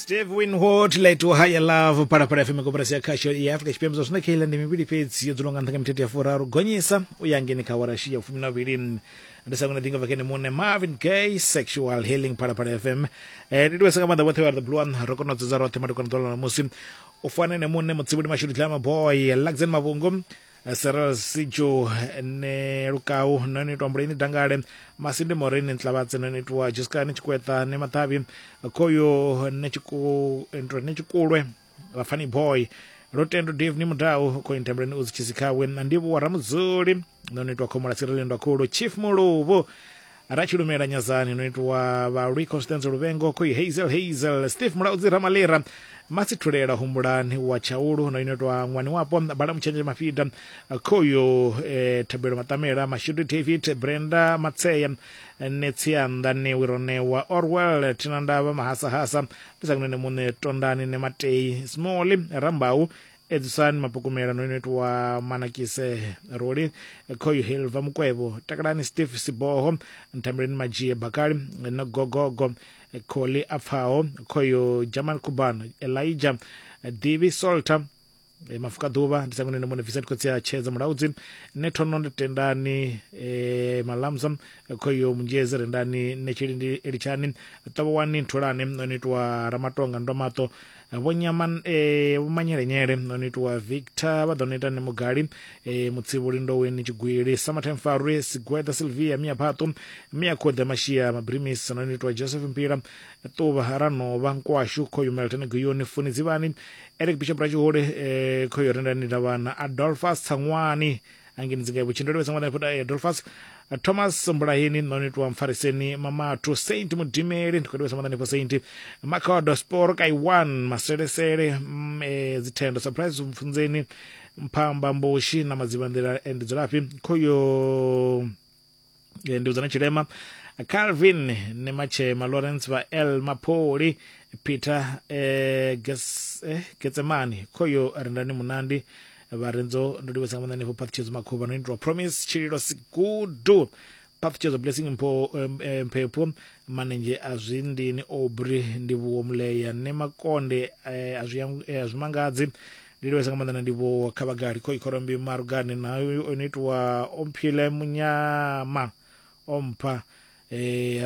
Steve Winwood let to higher love Phalaphala FM koporasi ya khasho ya Afrika Tshipembe. Zwa zwino kheila ndi mivhili fhedzi yo dzulwa nga nṱha nga mithethe ya furaru gonyisa u ya ngeni kha awara ya 12. Ndi sa ngona ḓinga bva kene muṋe Marvin Gaye, Sexual Healing, Phalaphala FM. Ndi livhesa nga maanḓa vhoṱhe vha the blue one, ro kona u dzudza roṱhe madekwana ḓuvha ḽa ṋamusi u fana ene muṋe Mutsivhuli Mashudu Dlama Boy Luxen Mavhungu Cyril Sijo ne Lukau no ni itwa Mbuleni Dangale Masindi Morini Ntlabatse no ni itwa Jiskani Tshikweṱa ne Maṱavhi Khoyo ne Tshiku ntwe ne Tshikulwe Vhafani Boy Lutendo Dave ni Mudau Khoyo Ntembeleni Uzi Tshisikhawe na Ndivhuwa Ramudzuli no ni itwa Khomola Tsirelendo Ndwakhulu Chief Muluvhu Ratshilumela Nyazani no itwa Vhalwi Constance Luvhengo Khoyi Hazel Hazel Steve Mulaudzi Ramalira Masithulela Humbulani wa Tshaulu no itwa Ṅwani Wapo Bala Mutshenzhe Mafida Khoyo Thabelo Maṱamela Mashudu David Brenda Matseya Netsianda Newi Ronewa Orwell Thinandavha Mahasahasa ndi sa kunene muṋe Tondani Nematei Small Rambau Edzisani Mapukumela no inoitwa Manakise Roli Khoyu Hilva Mukwevho Takalani Steve Siboho Nthambeleni Madzhie Bakali no Gogogo Kholi Apfaho Khoyu Jamal Kuban Elijah Divi Solta Mafuka Ḓuvha ndi sangone muṋe Vincent Khotsi a Tshedza Mulaudzi ne Thono ndi Tendani Malamza Khoyu Munzhezi Rendani Netshilindi Elitshani Ṱavhowani Ntholane no inoitwa Ramatonga Ndomaṱo Vho Nyama eh, Vho Manyelenyele no no itiwa Victor vha ḓo no ita Nemugali eh, Mutsivhuli Ndoweni Tshigwili Summertime Farwe Sigweda Sylvia Mia Phaṱu Mia Khoḓe Mashia Mabrimis no no itiwa Joseph Mpila Ṱuvha Ranovha Nkwashu Khoyu Melton Guyoni Funi Dzivhani Eric Bishop Ratshihole eh, Khoyu Rendani Davhana Adolphus Tsangwani angeni dzinga vhutshilo ndo livhesa ṅwana Adolphus Thomas Mbulaheni no nitwa Mfariseni Mamatu Saint Mudimeli ndi khou livhesa maanḓa hanefho Saint Makhodo Sporo Kaiwan Maselesele Dzithendo Surprise Mfunzeni Mphamba Mboshi na Madzivhanḓila ndi dzulafhi khoyo ndi udzana Tshilema Calvin Nematshema Lawrence vha L Mapholi Peter Getsemani khoyo Rendani Munandi Vharenzo ndo livhesa nga maanḓa hanefho Phaṱhutshedzo Makhuvha no itwa Promise Tshililo Sigudu Phaṱhutshedzo Blessing Mpho Mphephu Manenzhe a Zwindini Aubrey Ndivhuwo Muleya ne Makonde a zwi a zwi mangadzi ndi livhesa nga maanḓa na ndivhuwo kha vhagali khoi khorombi Marugane na o no itwa Omphile Munyama ompha